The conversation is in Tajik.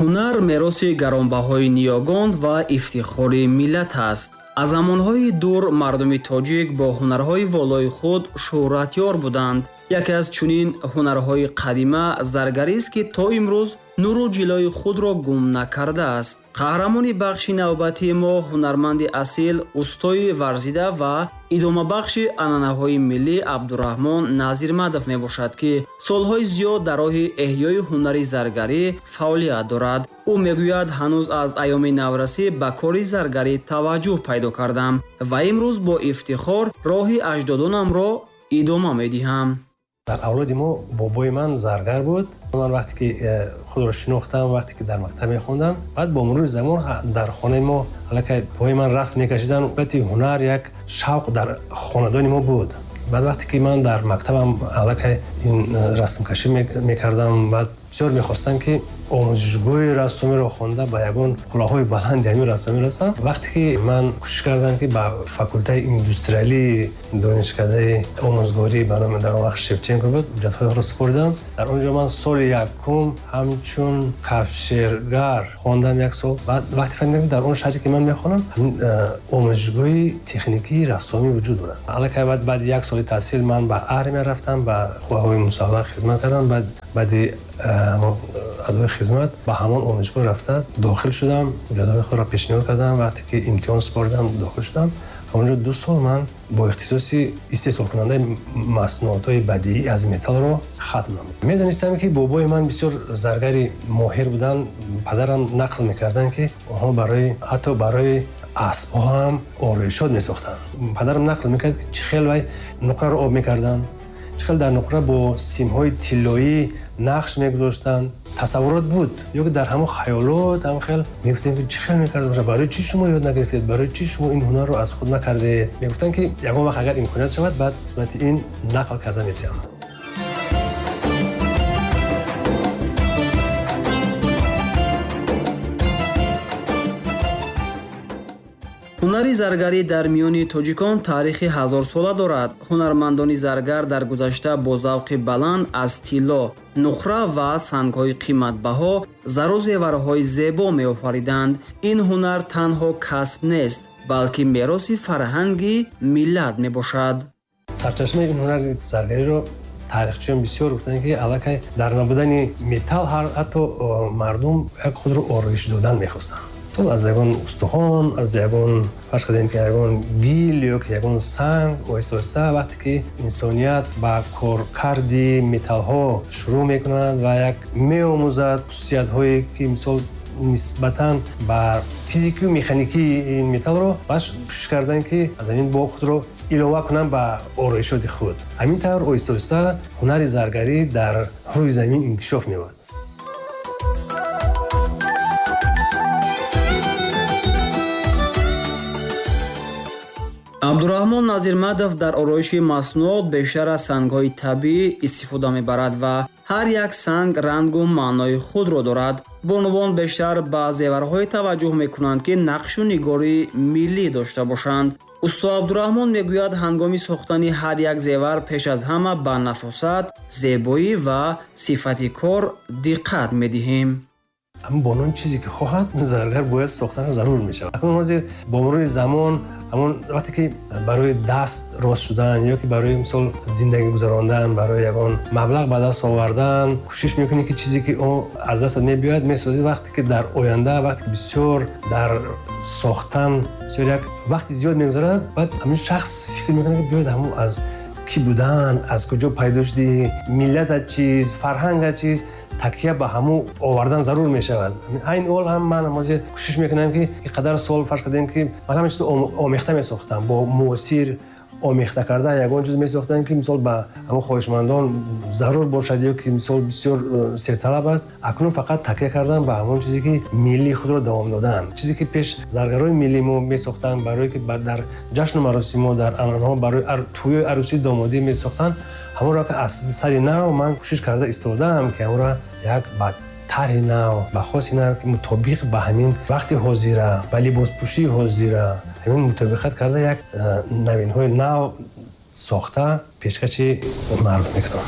Ҳунар мероси гаронбаҳои ниёгон ва ифтихори миллат аст. Аз замонҳои дур мардуми тоҷик бо ҳунарҳои волои худ шӯҳратёр буданд. Яке аз чунин ҳунарҳои қадима заргарист, ки то имрӯз нуру ҷилои худро гум накардааст. Қаҳрамони бахши навбатии мо ҳунарманди асил, устои варзида ва идомабахши анъанаҳои миллӣ Абдураҳмон Назирмадов мебошад, ки солҳои зиёд дар роҳи эҳёи ҳунари заргарӣ фаъолият дорад. Ӯ мегӯяд, ҳанӯз аз айёми наврасӣ ба кори заргарӣ таваҷҷӯҳ пайдо кардам ва имрӯз бо ифтихор роҳи аҷдодонамро идома медиҳам. Дар авлоди мо бобои ман заргар буд. Ман вақте ки худро шинохтам, вақте ки дар мактаб мехондам, баъд бо мурури замон дар хонаи мо аллакай пои ман расм мекашиданд. Баъди ҳунар як шавқ дар хонадони мо буд. Баъд вақте ки ман дар мактабам аллакай ин расмкашӣ мекардам, баъд бисёр мехостам ки омӯзишгоҳи рассомиро хонда ба ягон қуллаҳои баланди ҳамин рассомӣ расам. Вақте ки ман кӯшиш кардам ки ба факултаи индустриалии донишкадаи омӯзгорӣ ба номи дар он вақт Шевченко буд, ҳуҷҷатҳои супоридам. Дар он ҷо ман соли якум ҳамчун кафшергар хондам як сол. Баъд вақте фаҳмидам ки дар он шаҳре ки ман мехонам ҳамин омӯзишгоҳи техникии рассомӣ вуҷуд дорад. Аллакай баъди як соли таҳсил ман ба армия рафтам, ба қувваҳои мусаллаҳ хизмат кардам. Баъди адои хизмат ба ҳамон омӯзишгоҳ рафта дохил шудам, ҳуҷҷатҳои худро пешниҳод кардам. Вақте ки имтиҳон супоридам дохил шудам. Ҳамонҷо 2 сол ман бо ихтисоси истеҳсолкунандаи маснуотҳои бадиӣ аз металлро хатм намудам. Медонистам ки бобои ман бисёр заргари моҳир буданд. Падарам нақл мекарданд ки онҳо ҳатто барои аспҳо ҳам ороишот месохтанд. Падарам нақл мекард ки чӣ хел вай нуқраро об мекарданд, чӣ хел дар нуқра бо симҳои тиллоӣ нақш мегузоштанд. Тасаввурот буд, ё ки дар ҳамон хаёлот ҳам хел мегуфтем ки чӣ хел мекарда бошад, барои чӣ шумо ёд нагирифтед, барои чӣ шумо ин ҳунарро аз худ накардед. Мегуфтанд ки ягон вақт агар имконият шавад, баъд нисбати ин нақл карда метиҳам. Ҳунари заргарӣ дар миёни тоҷикон таърихи ҳазорсола дорад. Ҳунармандони заргар дар гузашта бо завқи баланд аз тилло, нуқра ва сангҳои қиматбаҳо зару зеварҳои зебо меофариданд. Ин ҳунар танҳо касб нест, балки мероси фарҳанги миллат мебошад. Сарчашмаи ин ҳунари заргариро таърихчиён бисёр гуфтанд ки аллакай дар набудани металл ҳатто мардум як худро ороиш додан мехостанд. Аз ягон устухон, аз ягон, фарз кардем ки ягон гил ё ки ягон санг, оҳиста-оҳиста вақте ки инсоният ба коркарди металлҳо шурӯъ мекунад ва як меомӯзад хусусиятҳое ки мисол нисбатан ба физикию механикии ин металлро, баъд кӯшиш карданд ки аз ҳамин бо худро илова кунанд ба ороишоти худ. Ҳамин тавр оҳиста-оҳиста ҳунари заргарӣ дар рӯи замин инкишоф меёбад. Абдураҳмон Назирмадов дар ороиши маснуот бештар аз сангҳои табиӣ истифода мебарад ва ҳар як санг рангу маънои худро дорад. Бонувон бештар ба зеварҳое таваҷҷӯҳ мекунанд, ки нақшу нигори миллӣ дошта бошанд. Усто Абдураҳмон мегӯяд, ҳангоми сохтани ҳар як зевар пеш аз ҳама ба нафосат, зебоӣ ва сифати кор диққат медиҳем. Ҳамин бонувон чизе ки хоҳад, заргар бояд сохтанаш зарур мешавад. Акнун ҳозир бо мурури замон ҳамон вақте ки барои даст рост шудан ё ки барои мисол зиндагӣ гузарондан, барои ягон маблағ ба даст овардан кӯшиш мекунӣ ки чизе ки он аз дастат мебиёяд месозӣ. Вақте ки дар оянда, вақте ки бисёр дар сохтан бисёр як вақти зиёд мегузарад, баъд ҳамин шахс фикр мекунад ки биёяд ҳамон аз кӣ будан, аз куҷо пайдо шудӣ, миллатат чиз, фарҳангат чиз, такя ба ҳамун овардан зарур мешавад. Айн ҳол ҳам ман ҳозир кӯшиш мекунам ки ин қадар сол фарз кардем ки ман ҳама чизро омехта месохтам, бо муосир омехта карда ягон чиз месохтам ки мисол ба ҳамон хоҳишмандон зарур бошад ё ки мисол бисёр серталаб аст. Акнун фақат такя кардан ба ҳамон чизе ки миллии худро давом додан, чизе ки пеш заргарои миллии мо месохтанд, барое ки дар ҷашну маросимҳо, дар анъанаҳо, барои тӯёи арӯсии домодӣ месохтанд, ҳамонро ки аз сари нав ман кӯшиш карда истодаам ки ҳамонро як ба тарҳи нав, ба хоси нав, ки мутобиқ ба ҳамин вақти ҳозира, ба либоспӯшии ҳозира ҳамин мутобиқат карда як навинҳои нав сохта пешкаши мардум мекунам.